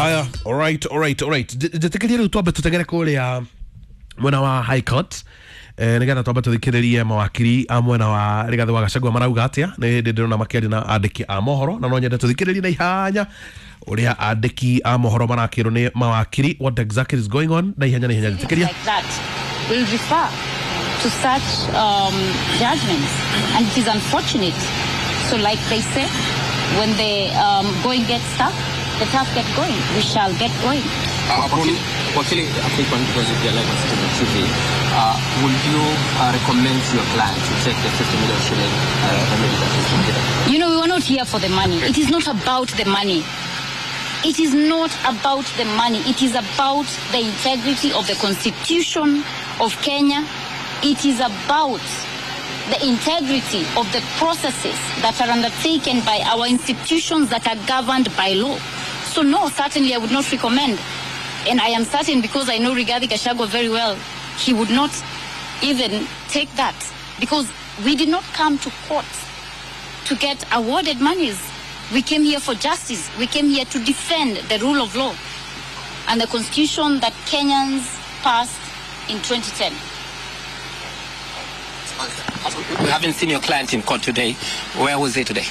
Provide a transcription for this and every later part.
Aya, alright. Njĩtĩkĩrie rĩu twambe tũteng'ere kũrĩa mwena wa High Court, nĩgetha twambe tũthikĩrĩrie mawakiri a mwena wa Rigathĩ wa Gachagua marauga atĩa. Nĩ hĩndĩ ndĩrona makĩaria na andĩki a mohoro, na no nyende tũthikĩrĩrie na ihanya ũrĩa andĩki a mohoro marakĩrwo nĩ mawakiri, what exactly is going on, na ihenya na ihenya, njĩtĩkĩria. Like that will refer to such judgments, and it is unfortunate. So, like they say, when the going gets tough, the tough get going. We shall get going. Wakili, a quick one because if you're live on Citizen TV, would you recommend to your client to take the 50 million shilling remedy that is been given? We were not here for the money. It is not about the money. It is not about the money. It is about the integrity of the Constitution of Kenya. It is about the integrity of the processes that are undertaken by our institutions that are governed by law. So no, certainly I would not recommend. And I am certain, because I know Rigathi Gachagua very well, he would not even take that, because we did not come to court to get awarded monies. We came here for justice. We came here to defend the rule of law and the constitution that Kenyans passed in 2010. We haven't seen your client in court today. Where was he today?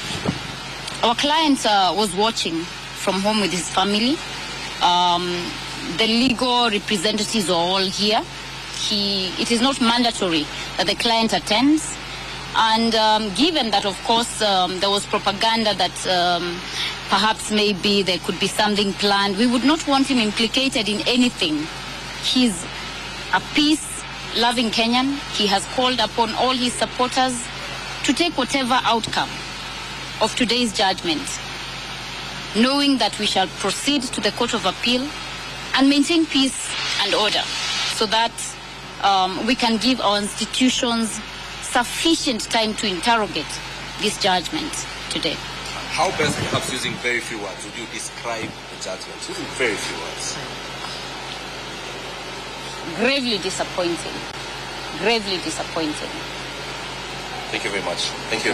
Our client was watching from home with his family. The legal representatives are all here. It is not mandatory that the client attends. And given that, of course, there was propaganda that perhaps maybe there could be something planned, we would not want him implicated in anything. He's a peace-loving Kenyan. He has called upon all his supporters to take whatever outcome of today's judgment, knowing that we shall proceed to the Court of Appeal and maintain peace and order so that we can give our institutions sufficient time to interrogate this judgment today. How best, perhaps using very few words, would you describe the judgment? Using very few words. Gravely disappointing. Gravely disappointing. Thank you very much. Thank you.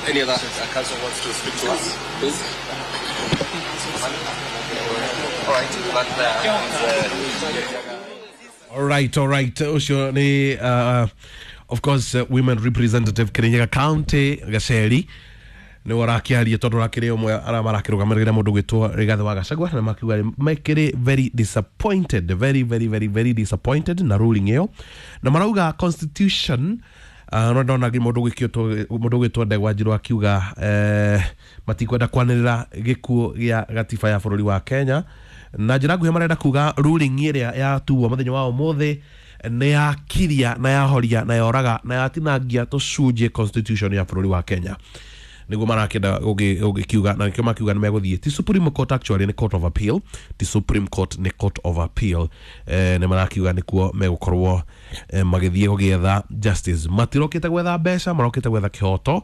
Any other counsel wants to speak to us, please? All right. All right. Ũcio nĩ of course women representative Kirinyaga County Gaceri nĩ ũrakĩaria, tondũ ũrakĩrĩ ũmwe arĩa marakĩrũgamĩrĩra mũndũ gwĩtwo Rigathĩ wa Gachagua, na makiuga mekĩrĩ very disappointed, very very very very disappointed na ruling ĩyo, na marauga constitution. No ndona mũndũ gwĩtwo Ndegwa Njirũ akiuga matikwenda kwanĩrĩra gĩkuũ gĩa gatiba ya bũrũri wa Kenya. Na njĩra nguhĩ marenda kuga ruling ĩrĩa yatuo mũthenya wa ũmũthĩ nĩ yakiria na yahoria na yoraga na yatinangia tũcunjĩ constitution ya bũrũri wa Kenya, nĩguo marakĩenda gũgĩkiuga, na nĩkĩo makiuga nĩ megũthiĩ ti Supreme Court, actually nĩ Court of Appeal, ti Supreme Court, nĩ Court of Appeal. Nĩ marakiuga nĩkuo megũkorwo magĩthiĩ gũgĩetha justice. Matirokĩte gwetha mbeca, marokĩte gwetha kĩhoto.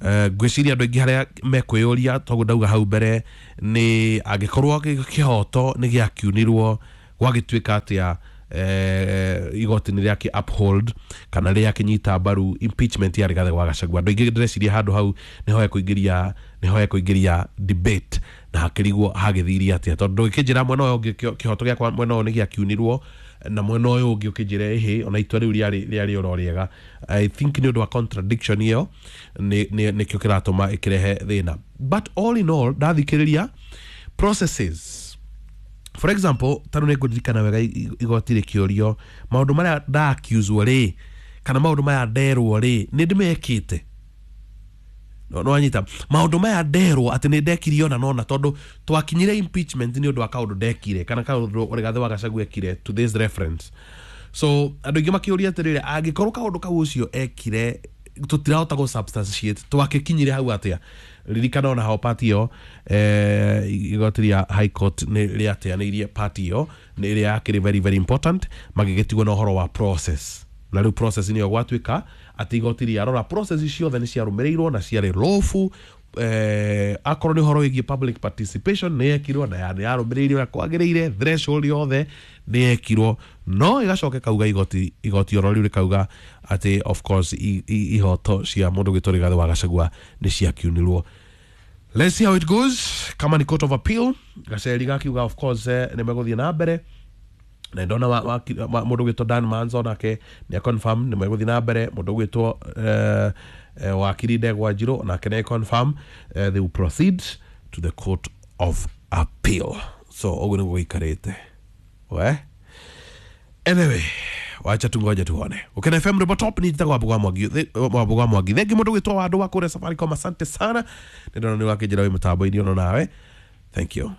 Ngwĩciria andũ aingĩ harĩa mekwĩyũria, toguo ndauga hau mbere, nĩ angĩkorwo kĩhoto nĩ gĩakiunirwo, gwagĩtuĩka atĩa igoti nĩ rĩakĩ uphold kana rĩakĩnyita mbaru impeachment ya Rigathĩ wa Gachagua? Andũ aingĩ ndĩreciria handũ hau nĩho hekũingĩria debate na hakĩrigwo hagĩthirie atĩa, tondũ ndũngĩkĩnjĩra mwena ũyũ ũngĩ kĩhoto gĩakwa mwena ũyũ nĩ gĩakiunirwo, na mwena ũyũ ũngĩ ũkĩnjĩra ĩhĩ ona itua rĩu rĩarĩ oro rĩega. I think nĩ ũndũ wa contradiction ĩyo nĩkĩo kĩratũma ĩkĩrehe thĩna. But all in all, ndathikĩrĩria processes, for example, tarũ nĩ ngũririkana wega igoti rĩkĩũrio maũndũ marĩa ndaccuswo rĩ, kana maũndũ maya nderwo rĩ, nĩ ndĩmekĩte? No wanyita maũndũ maya nderwo atĩ nĩ ndekire ona nona, tondũ twakinyire impeachment nĩ ũndũ wa kaũndũ ndekire kana kaũndũ Rigathĩ wa Gachagua ekire to this reference. So andũ aingĩ makĩũria atĩrĩrĩ, angĩkorwo kaũndũ kau ũcio ekire tũtirahota gũ substantiate, twakĩkinyire hau atĩa? Ririkana ona hao part ĩyo, igoti rĩa High Court nĩ rĩateanĩirie part ĩyo, nĩ ĩrĩa yakĩrĩ very very important, magĩgĩtigwo na ũhoro wa process. Na rĩu process nĩyo gwatuĩka atĩ igoti rĩarora process ciothe nĩ ciarũmĩrĩirwo na ciarĩ lawful, akorwo nĩ ũhoro wĩgiĩ public participation nĩ yekirwo na nĩ yarũmĩrĩirwo ũrĩa kwagĩrĩire, threshold yothe nĩ yekirwo, no ĩgacoka ĩkauga igoti oro rĩu rĩkauga atĩ of course ihoto cia mũndũ gwĩtwo Rigathĩ wa Gachagua nĩ ciakiunirwo. Let's see how it goes. Kama ni court of appeal, Gaceri gakiuga of course nĩ megũthiĩ na mbere, na ndona mũndũ ũgwĩtwo Dan Manzo nake nĩ confirm nĩ megũthiĩ na mbere. Mũndũ ũgwĩtwo wakiri Ndegwa Njirũ nake nĩ confirm they will proceed to the court of appeal. So ũguo nĩguo gũikarĩte we. Anyway, wacha tungoje tuone. Ukena FM Robo Top ni njitagwo Wambũgũ wa Mwangi, Wambũgũ wa Mwangi. Thengi mũndũ ũgwĩtwo Wandũ wa kũrĩa Safaricom, asante sana, nĩ ndona nĩ wakĩnjĩra wĩ mũtambo-inĩ ono nawe, thank you.